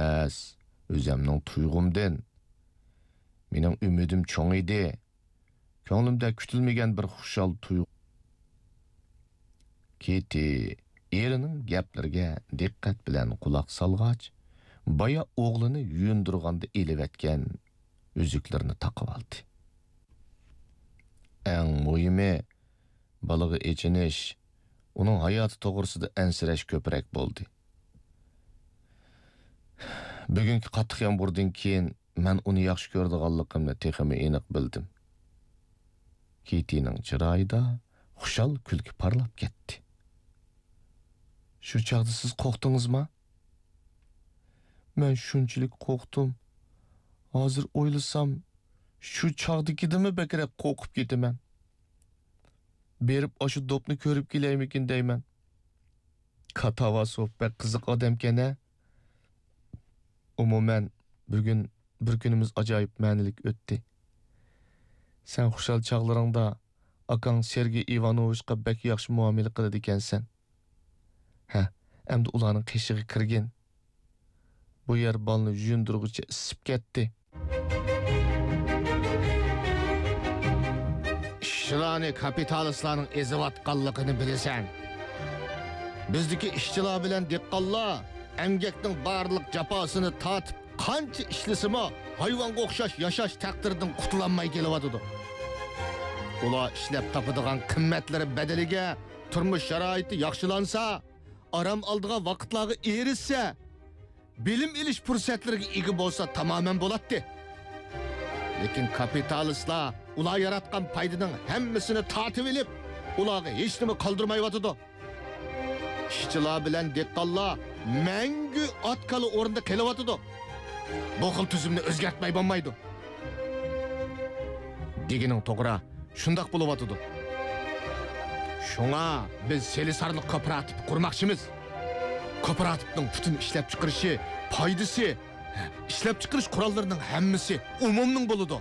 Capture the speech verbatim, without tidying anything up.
ئەمەس، ئۆزۈمنىڭ تۇيغۇمدىن. مېنىڭ ئۈمىدىم چوڭ ئىدى. كۆڭلۈمدە كۈتۈلمىگەن بىر خۇشال تۇيغۇ. كېتى ئېرىنىڭ گەپلىرىگە دىققەت بىلەن قۇلاق سالغاچ، بايا ئوغلىنى يۇيۇندۇرغاندا ئېلىۋەتكەن ئۈزۈكلىرىنى تاقىۋالدى. ئەڭ مۇھىمى، بالىغا ئېچىنىش، ئۇنىڭ ھاياتى توغرىسىدا ئەنسىرەش كۆپرەك بولدى. بۈگۈنكى قاتتىق يامغۇردىن كېيىن مەن ئۇنى ياخشى كۆرىدىغانلىقىمنى تېخىمۇ ئېنىق بىلدىم. كېتىنىڭ چىرايىدا خۇشال كۈلكە پارلاپ كەتتى. شۇ چاغدا سىز قورقتىڭىزما؟ مەن شۇنچىلىك قورقتۇم. ھازىر ئويلىسام، شۇ چاغدىكىدىنمۇ بەكرەك قورقۇپ كېتىمەن. بېرىپ ئاشۇ دوپنى كۆرۈپ كېلەيمىكىن دەيمەن. كاتاۋاسوف بەك قىزىق ئادەمكەن ھە. ئومۇمەن، بۈگۈن بىر كۈنىمىز ئاجايىپ مەنىلىك ئۆتتى. سەن خۇشال چاغلىرىڭدا ئاكاڭ سېرگېي ئىۋانوۋىچقا بەك ياخشى مۇئامىلە قىلىدىكەنسەن. ھە، ئەمدى ئۇلارنىڭ قېشىغا كىرگىن. بۇ يەر بالىنى يۇيۇندۇرغۇچە ئىسسىپ كەتتى. ئىشچىلارنى كاپىتالىستلارنىڭ ئېزىۋاتقانلىقىنى بىلىسەن. بىزدىكى ئىشچىلار بىلەن دېھقانلار ئەمگەكنىڭ بارلىق جاپاسىنى تارتىپ، قانچە ئىشلىسىمۇ، ھايۋانغا ئوخشاش ياشاش تەقدىرىدىن قۇتۇلالماي كېلىۋاتىدۇ. ئۇلار ئىشلەپ تاپىدىغان قىممەتلىرى بەدىلىگە تۇرمۇش شارائىتى ياخشىلانسا، ئارام ئالىدىغان ۋاقىتلارغا ئېرىشسە، بىلىم ئېلىش پۇرسەتلىرىگە ئىگە بولسا تامامەن بولاتتى. لېكىن كاپىتالىستلار ئۇلار ياراتقان پايدىنىڭ ھەممىسىنى تارتىۋېلىپ، ئۇلارغا ھېچنېمە قالدۇرمايۋاتىدۇ. ئىشچىلار بىلەن دېھقانلار مەڭگۈ ئات-كالا ئورنىدا قېلىۋاتىدۇ. بۇ خىل تۈزۈمنى ئۆزگەرتمەي بولمايدۇ. دېگىنىڭ توغرا، شۇنداق بولۇۋاتىدۇ. شۇڭا بىز سېلىسارلىق كوپىراتىپى قۇرماقچىمىز. كوپىراتىپنىڭ پۈتۈن ئىشلەپچىقىرىشى، پايدىسى، ئىشلەپچىقىرىش قوراللىرىنىڭ ھەممىسى ئومۇمنىڭ بولىدۇ.